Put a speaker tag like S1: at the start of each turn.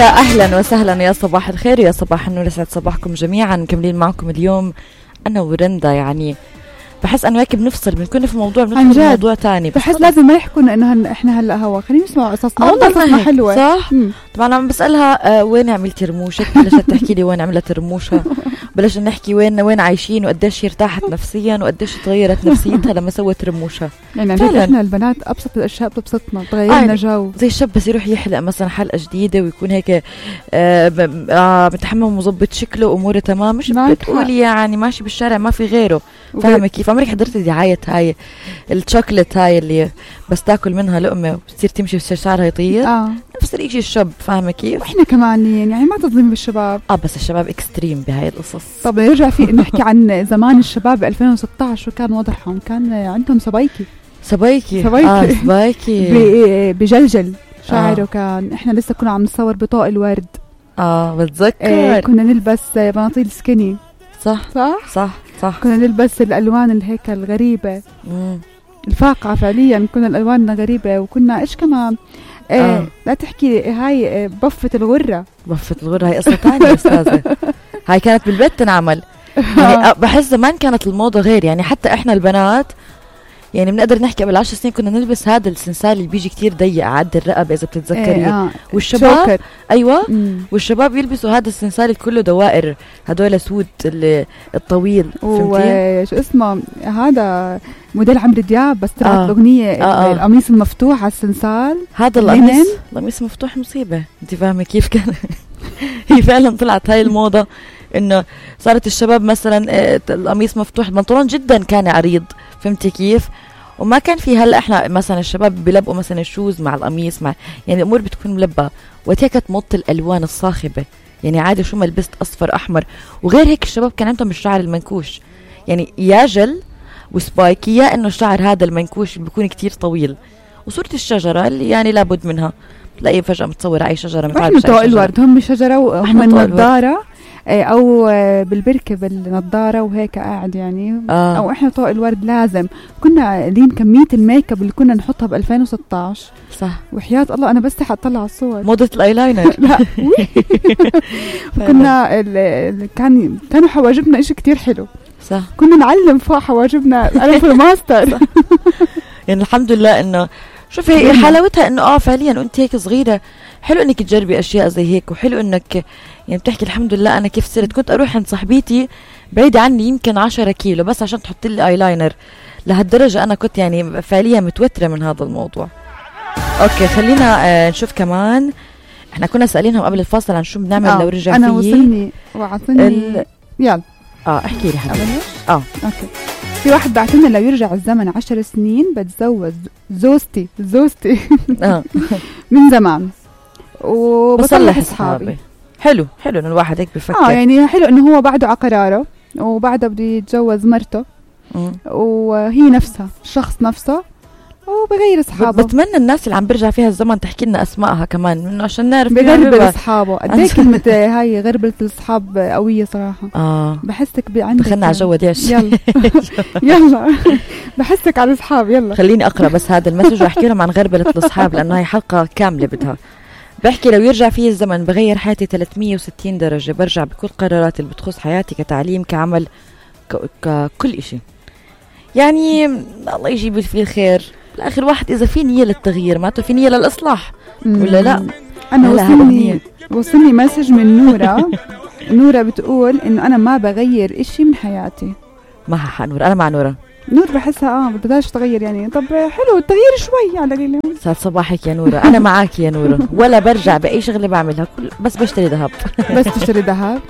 S1: يا أهلا وسهلا، يا صباح الخير، يا صباح النور، يسعد صباحكم جميعا. مكملين معكم اليوم أنا ورندا. يعني بحس أنه هيك بنفصل، بنكون في موضوع بندخل في موضوع تاني.
S2: بحس لازم ما يحكونا إنه إحنا هلأ هوا، خلينا نسمع قصصنا. والله قصصنا حلوة
S1: صح. طبعا أنا بسألها وين عملتي رموشك، بلشت تحكي لي وين عملت رموشها. بلش نحكي وين عايشين وقديش ارتاحت نفسيا وقديش تغيرت نفسيتها لما سوت رموشها.
S2: يعني احنا البنات ابسط الاشياء بتبسطنا، تغيرنا جو.
S1: زي الشاب بس يروح يحلق مثلا حلقه جديده ويكون هيك متحمم ومظبط شكله واموره تمام، مش بتقولي يعني ماشي بالشارع ما في غيره. فاهمه كيف؟ عمرك حضرت دعايه هاي الشوكليت هاي اللي بس تاكل منها لقمه وتصير تمشي شعرها يطير؟ نفس الشيء الشاب. فاهمه كيف؟
S2: واحنا كمان يعني ما تظلمي بالشباب.
S1: بس الشباب اكستريم بهاي القصص.
S2: طب نرجع في نحكي عن زمان الشباب 2016 وكان وضعهم، كان عندهم سبايكي بجلجل شعره. كان احنا لسه كنا عم نصور بطاق الورد.
S1: بتذكر
S2: كنا نلبس بناطيل سكيني.
S1: صح.
S2: كنا نلبس الالوان الهيك الغريبه الفاقعه، فعليا كنا الالواننا غريبه. وكنا ايش كمان لا تحكي هاي بفة الغرة
S1: هاي قصة تانية أستاذة. هاي كانت بالبيت تنعمل. يعني بحس زمان كانت الموضة غير، يعني حتى إحنا البنات يعني بنقدر نحكي قبل 10 سنين كنا نلبس هذا السنسال اللي بيجي كتير ضيق عد الرقبة إذا بتتذكري. والشباب
S2: شوكر.
S1: أيوة. والشباب يلبسوا هذا السنسال اللي كله دوائر، هدول سود الطويل.
S2: وشو اسمه هذا موديل عمرو دياب بس طلعت الأغنية القميص المفتوح على السنسال.
S1: هذا القميص مفتوح مصيبة. انت فاهمة كيف كان؟ هي فعلا طلعت هاي الموضة انه صارت الشباب مثلا القميص مفتوح، البنطلون جدا كان عريض. فهمتي كيف؟ وما كان في هلا احنا مثلا الشباب بيلبقوا مثلا الشوز مع القميص مع، يعني الامور بتكون ملبى. وقتها كانت موضة الالوان الصاخبة، يعني عادي شو ما لبست اصفر احمر. وغير هيك الشباب كان عندهم الشعر المنكوش، يعني يا جل وسبايكي يا انه الشعر هذا المنكوش بيكون كتير طويل. وصورة الشجرة اللي يعني لابد منها، تلاقي فجأة متصورة اي شجرة
S2: مثل طوق الورد. هم شجرة وهم النظارة او بالبركة بالنظارة وهيك قاعد يعني. او احنا طوق الورد لازم كنا قاعدين. كمية الميك اب اللي كنا نحطها ب 2016
S1: صح.
S2: وحياة الله انا بس اطلع الصور.
S1: موضة الايلاينر.
S2: لا كنا كانوا حواجبنا اشي كتير حلو.
S1: صح.
S2: كنا نعلم فوق حواجبنا. انا في الماستر.
S1: يعني الحمد لله انه شوفي هي حلاوتها انه فعليا وانت هيك صغيرة حلو انك تجربي اشياء زي هيك، وحلو انك يعني بتحكي الحمد لله انا كيف صرت. كنت اروح عند صاحبتي بعيدة عني يمكن 10 كيلو بس عشان تحط لي ايلاينر. لهالدرجة انا كنت يعني فعليا متوترة من هذا الموضوع. اوكي خلينا نشوف كمان. احنا كنا سألينهم قبل الفاصل عن شو بنعمل لو رجع
S2: انا وصلني وعطني يلا
S1: احكي لي حبيبي.
S2: اوكي. في واحد بعتلنا لو يرجع الزمن 10 سنين بتزوج زوجتي من زمان وبصلح اصحابي.
S1: حلو انه الواحد هيك بفكر.
S2: يعني حلو انه هو بعده على قراره وبعده بده يتجوز مرته وهي نفسها الشخص نفسه وبغير اصحابه.
S1: بتمنى الناس اللي عم برجع فيها الزمن تحكي لنا اسماءها كمان منه عشان نعرف
S2: بغربل اصحابه. قد كلمه هاي غربله الاصحاب قويه صراحه. بحسك عندك
S1: دخلنا على جو ديش.
S2: يلا بحسك على الاصحاب. يلا
S1: خليني اقرا بس هذا المسج واحكي لهم عن غربله الاصحاب لانه هي حلقه كامله بدها. بحكي لو يرجع فيه الزمن بغير حياتي 360 درجه. برجع بكل قراراتي اللي بتخص حياتي كتعليم كعمل كل إشي. يعني الله يجيب فيه الخير. بالآخر واحد إذا في نية للتغيير معناته في نية للإصلاح ولا لا.
S2: أنا وصلني مسج من نورة بتقول إنه أنا ما بغير إشي من حياتي.
S1: ما حق نورة. أنا مع نور
S2: بحسها بدهاش تغير يعني. طب حلو التغيير شوي على قليل.
S1: سعد صباحك يا نورة. أنا معاك يا نورة. ولا برجع بأي شغلة بعملها بس بشتري ذهب.
S2: بس تشتري ذهب